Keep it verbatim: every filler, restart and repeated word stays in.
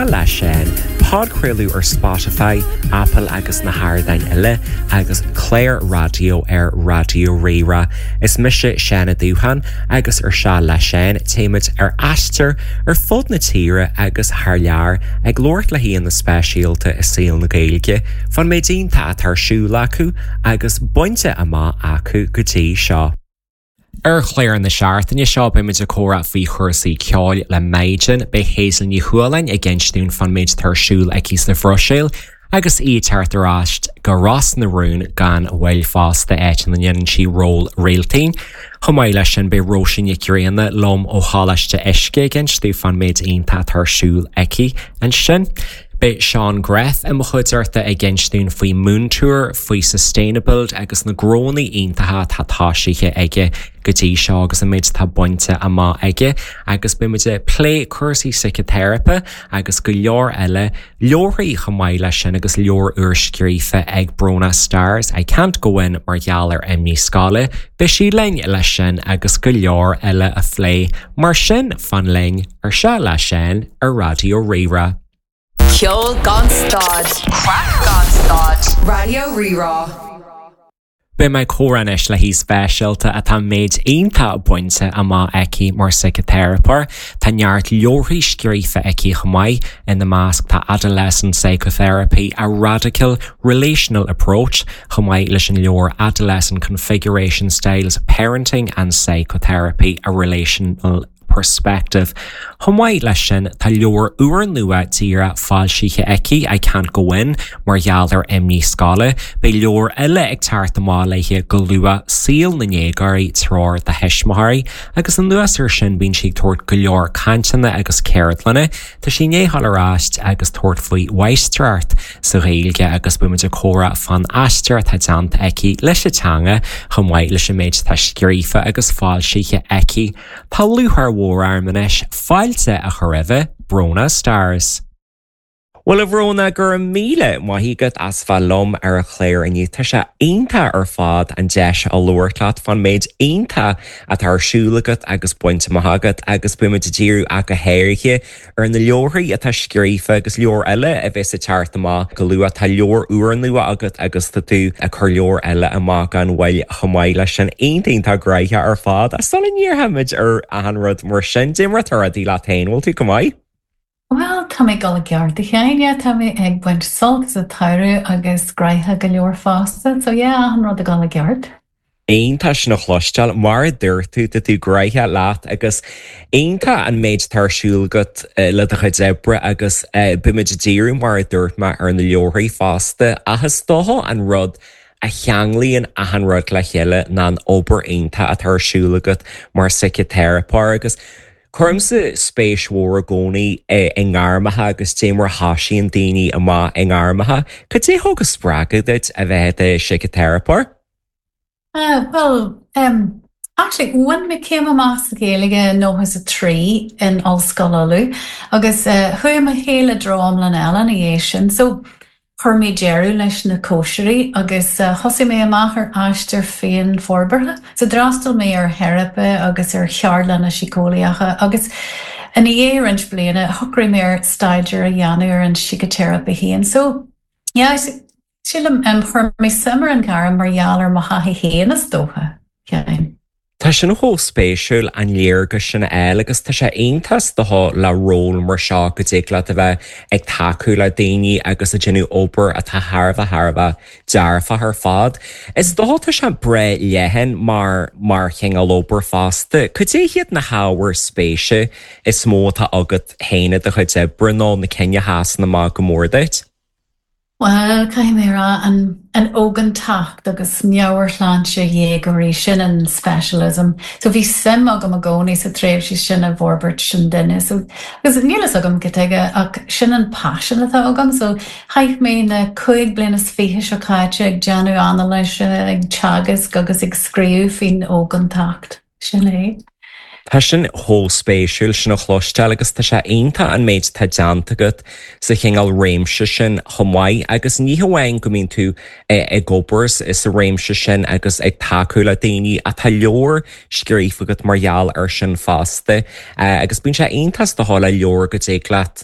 Leis sin, podchraoladh ar Spotify, Apple agus na hardáin eile agus cláir raidió ar Raidió Rí-Rá. Is mise Seán Ó Dúcháin agus ar Seal le Seán téimid ar aistear ar fud na tíre agus thar lear ag labhairt le haíonna speisialta i saol na Gaeilge, fán méid iontach atá ar siúl acu agus bainte amach acu go dtí seo. Ar chlár na seachtaine seo beimid ag comhrá faoi chúrsaí ceoil le Maighdean beidh Hazel Ní Chualáin ag insint dúinn fán méid atá ar siúl aici sa Bhruiséil agus í thart ar ais go Ros na Rún gan mhoill fosta áit ina ndéanann sí ról Réaltín. Chomh maith leis sin beidh Róisín Nic Grianna liom ó Choláiste Uisce ag insint dúinn fán méid iontach atá ar siúl aici ansin. Beidh Seán Greff i mo chuideachta ag insint dúinn faoi Moontour, faoi Sustainable agus na gnónna iontacha atá tosaithe aige go dtí seo agus an méid atá bainte amach aige agus beimid ag plé cúrsaí síciteiripe agus go leor eile leabharthaí chomh maith leis sin agus leabhar úr scríofa ag Bróna Stars I can't go in mar gheall ar imní scoile, Beidh sí linn leis sin agus go leor eile a phlé mar sin fan linn ar Seal le Seán ar Raidió Rí-Rá. Ceol gan stad, Craic gan stad, Raidió Rí-Rá. Beidh mé ag comhrá anois le haoi speisialta atá méid iontach bainte amach aici mar síciteiripeoir, Tá neart leabharthaí scríofa aici chomh maith ina measc tá Adolescent Psychotherapy, a Radical Relational Approach chomh maith leis an leabhar Adolescent Configuration Styles, Parenting and Psychotherapy, a Relational Perspective. Chomh maith leis sin tá leabhar úrnua díreach foilsithe aici I can't go in mar gheall ar imní scoile, Beidh leabhar eile ag teacht amach léi go luath Saol na ndéagóirí treoir do thuismitheoirí, agus anuas air sin bíonn sí ag tabhairt go leor cainteanna agus ceardlanna, Tá sí i ndiaidh dul ar ais agus tabhairt faoi mháistreacht sa Ghaeilge agus beimid ag comhrá fán aistear atá déanta aici leis an teanga chomh maith leis an méid atá scríofa agus foilsithe aici. Tá lúcháir mhór orm anois fáilte a chur roimh Bróna Stars. Well a Bhróna go raibh míle maith agat as bheith liom ar an chlár inniu Tá sé iontach ar fad an deis a labhairt leat fán méid iontach atá ar siúl agat agus bainte amach agat agus beimid ag díriú ach go háirithe ar na leabharthaí atá scríofa agus leabhar eile a bheas ag teacht amach go luath tá leabhar úrnua agat agus tá tú ag cur leabhar eile amach gan mhoill chomh maith leis sin iontach gnóthach ar fad a sula ndíreoimid ar achan rud mar sin cad é mar atá rudaí leat féin bhfuil tú go maith? Well, tá mé go gearr a Sheáin, tá mé ag baint sult as an tsamhradh agus gnóthach go leor fosta, so yeah, achan rud ag dul i gceart. Iontach sin a chloisteáil mar a dúirt tú tá tú gnóthach leat agus iontach an méid atá ar siúl agat le do chuid oibre agus beimid ag díriú mar a dúirt mé ar na leabharthaí fosta ach is dócha an rud a cheanglaíonn achan rud le chéile ná an obair iontach atá ar siúl agat mar síciteiripeoir agus Cuirimse spéis mhór i gcónaí i ngairmeacha agus cad é mar a thosaíonn daoine amach i ngairmeacha, Cad é thug an spreagadh duit a bheith i do shíciteiripeoir? Uh, well, um, actually bhain mé céim amach sa Ghaeilge nócha a trí in Ollscoil Uladh agus uh, chuaigh mo shaol i dtreo iomlán eile ina dhiaidh sin. So chuir mé deireadh leis na cóisirí agus uh, thosaigh mé amach ar aistear féinfhorbartha. So d'fhreastail mé ar theiripe agus ar cheardlanna síceolaíocha agus ina dhiaidh roinnt bliana shocraigh mé ar staidéar a dhéanamh ar an síciteiripe féin. So yeah, sílim um, chuir mé suim ar an ghairm mar gheall ar mo thaithí féin is dócha. Yeah. Tá sin chomh spéisiúil an léargas sin a fháil agus tá sé iontach dócha le ról mar seo go dtig leat a bheith ag tacú le daoine agus ag déanamh obair atá thar a bheith thar a bheith dearfach ar fad. Is dócha tá sé breá leathan mar mar chineál obair fosta, Cad é hiad na hábhair spéise is mó atá agat féin i do chuid oibre nó na cinn a sheasann amach go mór duit? Well, caithfidh mé rá an an ógántacht agus meabhairshláinte dhéagóirí sin an specialism. So bhí suim agam i gcónaí sa tréimhse sin i bhforbairt sin duine. So agus níl a fhios agam cad chuige ach sin an passion atá agam, so chaith mé na cúig bliana is fiche seo caite ag déanamh anailíse, ag teagasc agus ag scríobh faoin ógántacht. Sin é. Tá sin chomh spéisiúil sin a chloisteáil agus tá sé iontach an méid atá déanta agat sa chineál réimse sin chomh maith agus ní hamháin go mbíonn tú ag obair sa réimse sin agus ag tacú le daoine atá leabhar scríofa agat mar gheall ar sin fosta agus bíonn sé iontach is dócha le leabhar go dtig leat